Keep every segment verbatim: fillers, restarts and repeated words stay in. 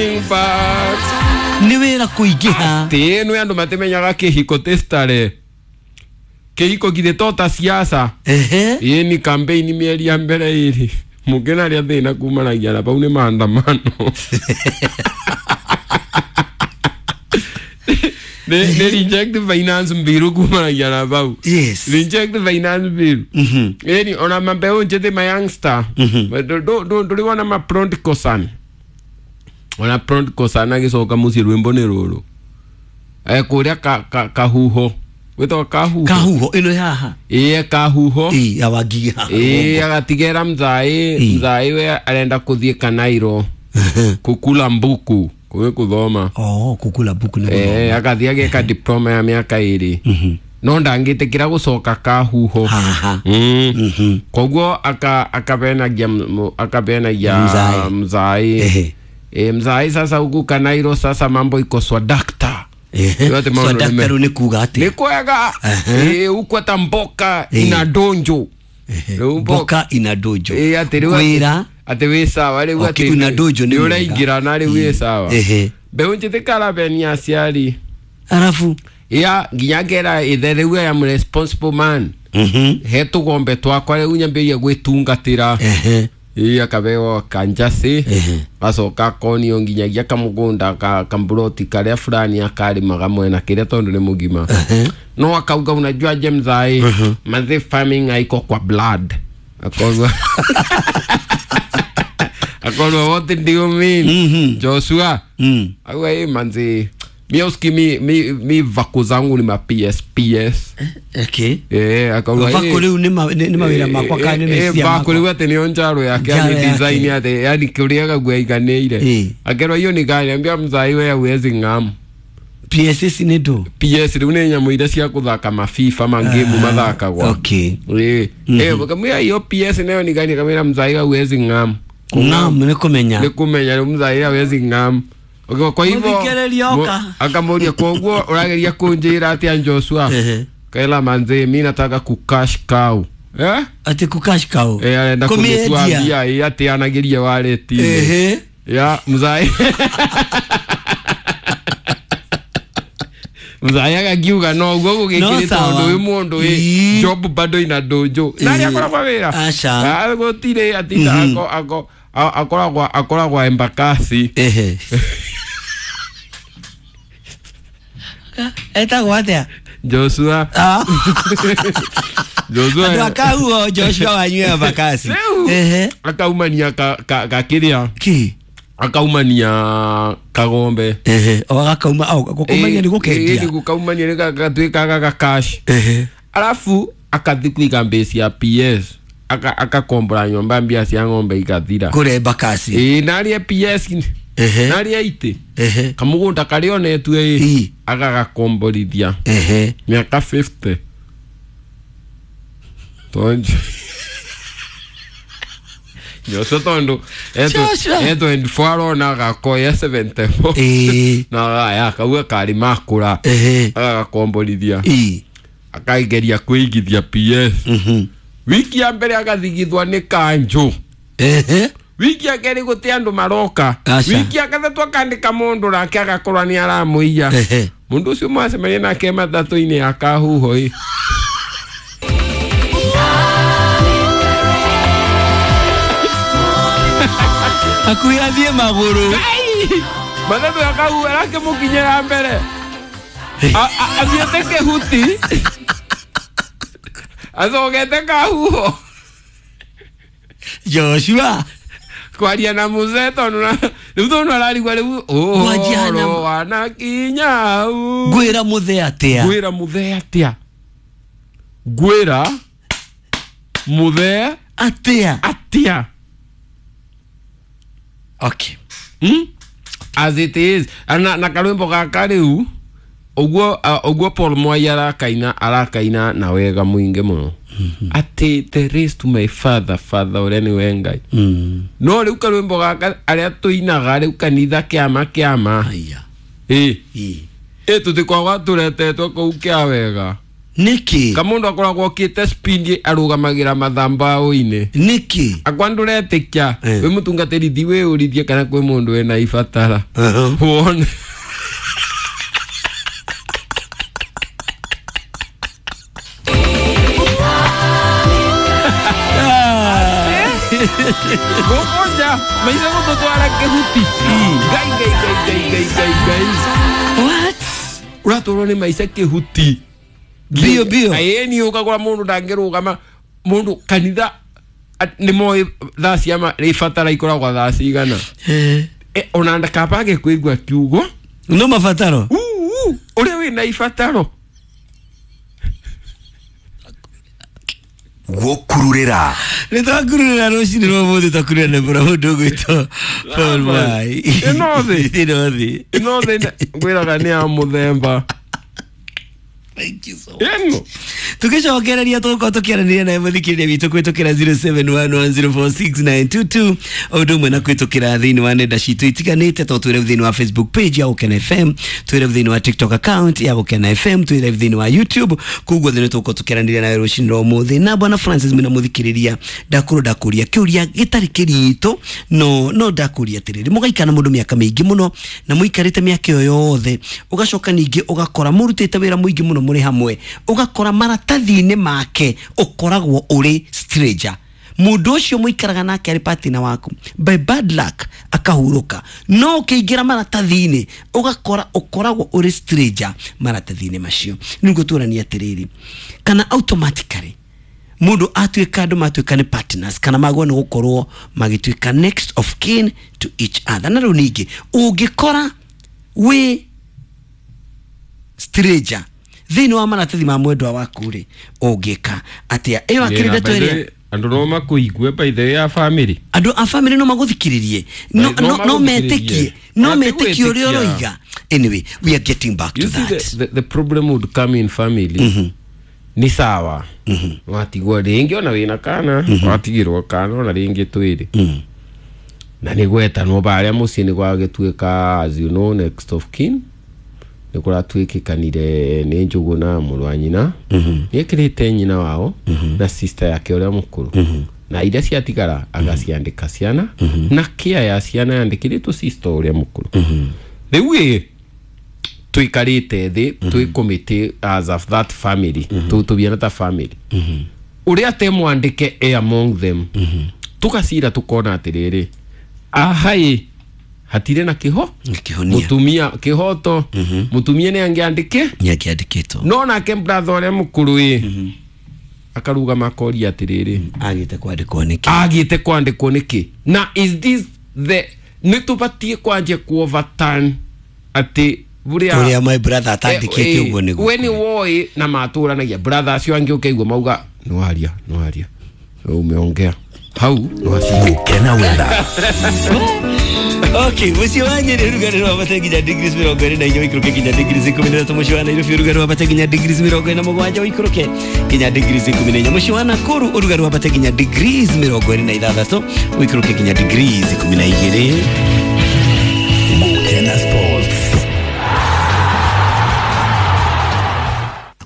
But Nĩ wĩra kũingĩha. Ati nä andå matimenyaga kä hiko tä stare kä hiko githä to ta siasa. Ehe. Ä ni campaign mĩeri ya mbere ĩrĩ mũngĩ arĩa thĩna kumanagia na pau nĩ maandamano nĩ nĩ reject finance bill kumanagia na pau. Yes. Reject finance bill. Mhm. Ĩni ona mambeu njĩthĩ ma youngster ndũrĩ wona ma prodigal son, ona prodigal son agĩcoka mũciĩ rwĩmbo nĩ rũrũ kũrĩa ka- ka- kahuho gwĩtagwo kahuho. Kahuho ĩno haha. Ĩĩ, kahuho. Ĩ ya Wangigĩ haha. Ĩĩ, agatigera mzai. Ĩ. Mzai we arenda kũthiĩ Kanairo kukula mbuku kũgĩ kũthoma. Oh, kukula buku nĩ Eh, gũthoma. agathiĩ ageka diploma ya mĩaka ĩrĩ no ndangĩtĩkĩra gũcoka kahuho Haha. Mm. Mhm. Koguo aka akabenagia m- akabenagia Mzai. mzai. Ehe. E, mzai sasa huku Kanairo sasa mambo iko swadakta. Ehe. Yote maũndũ So nĩ me- daktari nĩ kuga nĩ atĩa? kwega. Ehe. Eh, huku hata mboka Eh. ina donjo. Rĩu mboka Mboka ina dojo. Eh, atĩ rĩu atĩ- Wĩra. atĩ wĩ sawa rĩu. Okay, Atĩ una dojo nĩ nĩ mwega. ũraingĩrana rĩu wĩ sawa. Ehe. Mbeũ njĩthĩ karabenia aciari. Arabu. Ya nginya ngera ithe rĩu I am responsible man. Mhm. He tũgombe twakwa rĩu nyambĩrĩria gwĩtungatĩra. Ehe. Ĩ akabeo kanjacĩ. Ehe. Gacoka akonio nginyagia kamũgũnda ka kamburoti karĩa fulani akarĩmaga mwena kĩrĩa tondũ nĩ mũgima no akauga unajua je mzai manze farming haiko kwa blood. Akorwa akorwa what do you mean, Mhm. Joshua? Mm. Auga ĩ manze mi uski mi, mi, mi vako zangu ni ma P S P S. Okay. Eh, akauga Vako rĩu nĩ ma- nĩ nĩ mawĩra makwa kana nĩ meciria vako makwa? rĩu atĩ nĩyo njaro yake. Njaro Yani yake. design yake yani kũrĩaga guaiganĩire. Eh. Akerwa hiyo ni gani, ambia mzai we hauwezi ng'amu. P S S nĩ ndũ? P S rĩu nĩ nyamũ iria cia kũthaka mafifa mangemu mathakagwa. Okay. Eh, eh, kamwira hiyo P S nayo ni gani, kamwira mzai hauwezi ng'amu. Ng'amu nĩ kũmenya. Nĩ kũmenya rĩu mzai hawezi ng'amu. Okay, kwa hivyo Mũthikĩrĩria oka. Akamũria koguo ũrageria kũnjĩra atĩa Joshua? Ehe. Kaela manze mi nataka kucash cow, eh. Atĩ kucash cow. Eh, arenda Kũmĩendia. kũmĩtua mbia ĩ atĩanagirie wareti. Ehe. Ya mzai mzai agakiuga no guo No gũgĩkĩrĩ sawa. tondũ wĩ mũndũ ĩ Ii. job bado ina dojo na arĩa akoragwo wĩra. Aca. Ah, gũtirĩ atinda ako ako a- akoragwo akoragwo Embakasi. Ehe. Etagwo atĩa? Joshua. Ah. Joshua. Andũ akahuo Joshua wanyue Embakasi. Rĩu Ehe. akaumania ka- ka- gakĩrĩa Kĩ? akaumania kagombe. Ehe. O gakauma au gũkaumania nĩ gũkendia. Gũkaumania nĩ gatuĩkaga ga cash. Ehe. Alafu akathi kuiga mbesi ya P S aka akakombora nyomba mbia cia ng'ombe igathira. Kũrĩa Embakasi. Ĩ narie P S. Ehe. Narie itĩ Ehe. kamũgũnda karĩa onetue Ĩ. ĩ agagakomborithia Ehe. mĩaka mĩrongo ĩtano tondu Joshua tondu Joshua. e mĩrongo ĩĩrĩ na ĩna arona agakoya mĩrongo mũgwanja na ĩna. Ĩ. Na aya akauga karĩ makũra Ehe. agagakomborithia. Ĩ. Akaigeria kwĩigithia P S. Mhm. Wiki ya mbere agathigithwa nĩ kanjũ. Ehe. Wiki ya kerĩ gũtĩ andũ maroka. Aca. Wiki ya gatatũ akandĩka mũndũ nake agakorwo nĩ aramũiya. Ehe. Mũndũ ũcio mwacemania nake matatũ-inĩ ya kahuho ĩ. Hakuhĩ athiĩ magũrũ. Matatũ ya kahuho arakĩmũkinyĩra mbere A- a- athiĩte kĩhuti acokete kahuho. Joshua. Kwaria na mzee tondu na rĩu tondu ararigwa rĩu Mwanjia na- ũhoro wanakinya u Ngwĩra mũthee atĩa? Ngwĩra mũthee atĩa? Ngwĩra mũthee Atĩa? Atĩa? Okay. Hmm? As it is na, na karwĩmbo gaka rĩu ũguo uh, ũguo Paul Mwai arakaina arakaina na wega mũingĩ mũno atĩ the race to my father father ũrĩa nĩwe Ngai. Mm. No rĩu karwĩmbo gaka arĩa tũinaga rĩu kanitha kĩama kĩama. Aya. Ĩ. Ĩ. Ĩ tũtikwagwa tũretetwo kũu kĩa wega. Niki Kamundu akoragwo okite speed arugamagira mathambao-ini. Niki Akwa nduretikia Eh. wi mutungatiri thi wiyurithie kana kwi mundu wina ibatara. Uh-huh. Wone. Gukunja maica gututwara kihuti. Ngai ngai ngai ngai ngai ngai ngai. What? Uratwarwo ni maica kihuti. Bio bio. Ĩĩ ukagora mundu ndangĩrũgama mundu kanitha at- nĩ moĩ thaa cia ma- ibatara ikoragwo thaa cigana. Eh. E, ona ndakabage kwĩigua kiugo No mabataro. Uu, ũrĩa wĩna ibataro. Gũkururĩra. Nĩ twakururĩra rũcinĩ rwa ũmũthĩ, twakururĩra na bũra mũndũ ũgwĩtwo Paul Mwai. Ĩno thĩ. Ĩno thĩ. Ĩno thĩ ngwĩraga nĩ ya mũthemba. Thank you so much. Ĩno Tugicokereria tũgũkorwo tũkĩaranĩria nawe mũthikĩrĩria witũ kũhĩtũkĩra zero seven one one zero four six nine two two o ũndũ ũmwe na kũhĩtũkĩra thĩinĩ wa nenda citũ itiganĩte to twĩ live thĩinĩ wa Facebook page ya Gũkena F M, twĩ live thĩinĩ wa TikTok account ya Gũkena F M, twĩ live thĩinĩ wa YouTube. Koguo thĩ nĩ tũgũkorwo tũkĩaranĩria nawe rũcinĩ rwa ũmũthĩ. Na bwana Francis mwĩna mũthikĩrĩria, ndakorwo ndakũria kĩũria gĩtarĩ kĩritũ, no no ndakũria atĩrĩrĩ, mũgaikara na mũndũ mĩaka mĩingĩ mũno na mũikarĩte mĩaka ĩyo yothe, ũgacoka ningĩ ũgakora mũrutĩte wĩra mũingĩ mũno mũrĩ hamwe, ũgakora maratathi-inĩ make ũkoragwo ũrĩ stranger. Mũndũ ũcio mũikaraga nake arĩ partner waku, by bad luck akahurũka, no ũkĩingĩra maratathi-inĩ ũgakora ũkoragwo ũrĩ stranger maratathi-inĩ macio. Nĩguo tũranie atĩrĩrĩ, kana automatically mũndũ atuĩka, andũ matuĩka nĩ partners, kana magwo nĩ gũkorwo magĩtuĩka next of kin to each other. Na rĩu ningĩ ũngĩkora wĩ stranger thĩinĩ wa maratathi ma mwendwa waku rĩ, ũngĩka atĩa? Ĩyo akĩrĩ ndeto ĩrĩa andũ no makũigue by the way ya family. Andũ a family no magũthikĩrĩrie, no, No no, no magũthikĩrĩrie. metĩkie, no Na ti metĩkie ũrĩa gwĩtĩkia. ũroiga. Anyway, we are getting back to You see, that. the, the, the problem would come in family. Nĩ sawa watigwo rĩngĩ ona wĩna kana watigirwo kana ona rĩngĩ twĩrĩ na nĩ gwetanwo barĩa mũciĩ nĩ gwagĩtuĩka, as you know, next of kin nĩ kũratuĩkĩkanire nĩ Njũgũna mũrũ wa nyina nĩ ekĩrĩte nyina wao na sister yake ũrĩa mũkũrũ, na iria ciatigara agaciandĩka ciana na kĩa ya ciana yandĩkĩrĩtwo sister ũrĩa mũkũrũ. Rĩu ĩ tũikarĩte thĩ twĩ committee as of that family, tũbiana ta family ũrĩa te mwandĩke e among them, tũgacira tũkona atĩrĩrĩ, aha ĩ hatirĩ na kĩho Kĩhonia. Mũtumia kĩhoto mũtumia nĩ angĩandĩke nĩ angĩandĩkĩtwo, no nake brother ũrĩa mũkũrũ ĩ akarugama akoria atĩrĩrĩ, agĩte kwandĩkwo nĩkĩ? Agĩte kwandĩkwo nĩkĩ? Na is this the nĩ tũbatiĩ kwanjia ku overturn atĩ ũrĩa ũrĩa my brother atandĩkĩte ũguo nĩguo we nĩ woĩ na matũranagia brother acio angĩ ũkaigua mauga nĩwaria nĩwaria umeongea hau nĩwacia. Gũkena Weather. Okay, mũciĩ wa Nyĩrĩ ũrugarĩ wambate nginya degrees mĩrongo ĩrĩ na inya ũikũrũke nginya degrees ikũmi na ithatũ. Mũciĩ wa Nairobi ũrugarĩ wambate nginya degrees mĩrongo ĩna mũgwanja ũikũrũke nginya degrees ikũmi na inya. Mũciĩ wa Nakuru ũrugarĩ wambate nginya degrees mĩrongo ĩrĩ na ithathatũ ũikũrũke nginya degrees ikũmi na igĩrĩ. Gũkena Sports.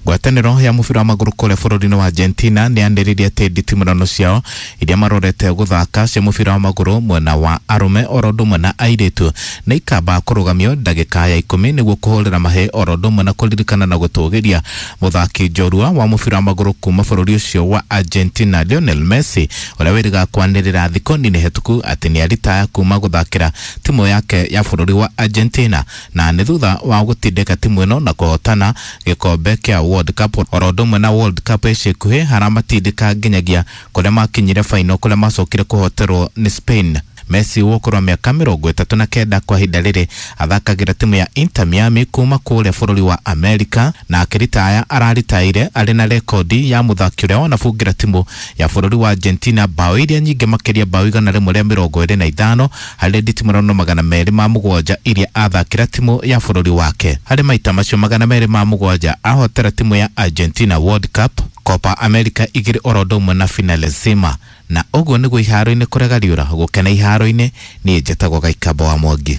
Ngwatanĩro ya mũbira wa magũrũ kũrĩa bũrũri-inĩ wa Argentina nĩ yanĩrĩire atĩ nditimũrano ciao iria marorete gũthaka cia mũbira wa magũrũ mwena wa arũme oro ũndũ ũmwe na airĩtu nĩ ikamba kũrũgamio ndagĩka ya ikũmi nĩguo kũhũrĩra mahĩ oro ũndũ ũmwe na kũririkana na gũtũgĩria mũthaki njorua wa mũbira wa magũrũ kuma bũrũri ũcio wa Argentina Lionel Messi, ũrĩa wĩrĩga kwanĩrĩra thikũ nini hĩtũku atĩ nĩ aritaya kuma gũthakĩra timu yake ya bũrũri wa Argentina, na nĩ thutha wa gũtindĩka timu ĩno na kũhotana gĩkombe kĩa World Cup oro ũndũ ũmwe na World Cup ica ikuhĩ haramatindĩka nginyagia kũrĩa makinyire final kũrĩa macokire kũhoterwo nĩ Spain. Messi wa ũkũrũ wa mĩaka mĩrongo ĩtatũ na kenda kwa ihinda rĩrĩ athakagĩra timu ya Inter Miami kuma kũrĩa bũrũri wa Amerika, na akĩritaya araritaire arĩ na rekodi ya mũthaki ũrĩa wanabungĩra timu ya bũrũri wa Argentina bao iria nyingĩ makĩria, bao igana rĩmwe rĩa mĩrongo ĩrĩ na ithano harĩ nditimũrano magana merĩ ma mũgwanja iria athakĩra timu ya bũrũri wake. Harĩ maita macio magana merĩ ma mũgwanja ahotera timu ya Argentina World Cup, Copa America igĩrĩ oro ũndũ ũmwe na Finalissima. Na ũguo nĩguo iharo-inĩ kũrega riũra gũkena iharo-inĩ. Niĩ njĩtagwo Gaikamba wa Mwangi.